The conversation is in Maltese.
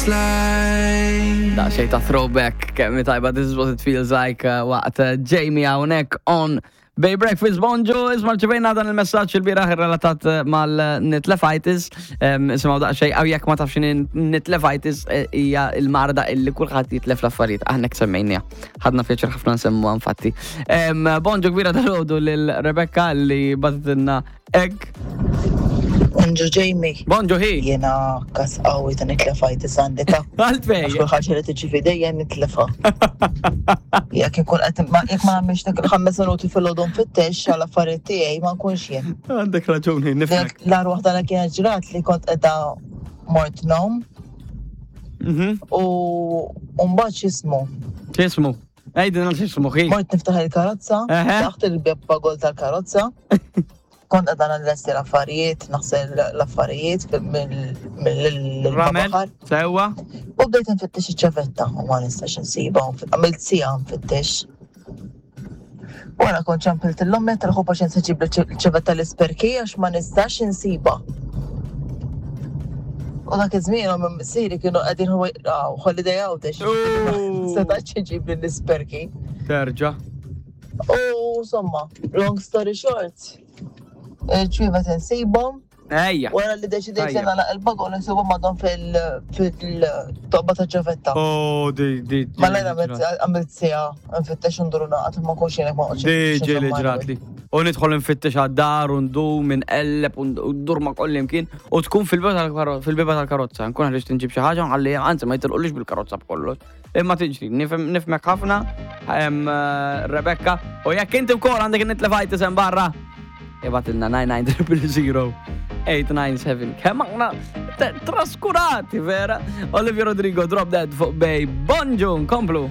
like. Daqsxejn ta' throwback kemm tajba This is what it feels like waqt Jamie hawnhekk on Bay Breakfast. Bonġu, isma' rċevejna dan il-messaġġ il-bieraħ relatat mal-nitlefitis. Isimgħu daqsxejn għaw jekk ma tafx nitlefitis hija l-marda illi kulħadd jitlef l-affarijiet. Aħna hekk semmejniha. Ħadna pjaċir ħafna nsemmuha infatti. Bonġu kbira dalgħodu lil Rebecca li bagħtitilna hekk. Bonġu Jamie. Bonġu hi. Jiena kas qawwi ta' nitlefitis għandi ta' Għalfej. Għax kull ħaġa li tiġi f'idejja nitlefa. Jekk inkun qed jekk ma nagħmilx dak il-5 minuti fil-għodu nfittex għal affarijiet tiegħi ma nkunx jien. Għandek raġuni, nifhmek. L-agħar waħda li kienet ġrat li kont qiegħda mort nom. U mbagħad x'ismu? X'ismu? Għidilna x'ismu hi. Mort niftaħ il-karozza, taħt il-beb bagol tal-karozza. Kont qiegħda nlesti l-affarijiet, naħsel l-affarijiet mill-baħar. Sewwa. U bdejt nfittex iċ-ċavetta u ma nistax insibha, għamilt siegħa nfittex. Wara kont ċempilt l-ommi għedt ħu paċenzja ġib l-ċavetta l-isperki għax ma nistax insibha. U dak iż-żmien ommi missieri kienu qegħdin holiday Għawdex. Setax iġib l-isperki. Terġa'. U insomma, long story short, il-ċwievet insibhom. Ejja. Wara li deċidejt li nagħlaq il-bagon insibhom għadhom fil-toqba ta' ċavetta. Oh, di, di. Malajr għamilt siegħa nfittex u ndur naqgħad ma nkunx jien ma noqgħodx. Di ġieli ġratli. U nidħol nfittex għad-dar u ndum inqelleb u ndur ma' koll imkien u tkun fil-bieba tal-karozza. Nkun ħriġt inġib xi ħaġa u nħalli anzi ma jitilqulix bil-karozza b'kollox. Imma tiġri, nifhmek ħafna, Rebecca, u jekk inti wkoll għandek in-nitlefajtis hemm barra, ibgħatilna 99000 897. Kemm aħna traskurati vera. Olivia Rodrigo, Drop Dead fuq Bay. Bonġu, nkomplu.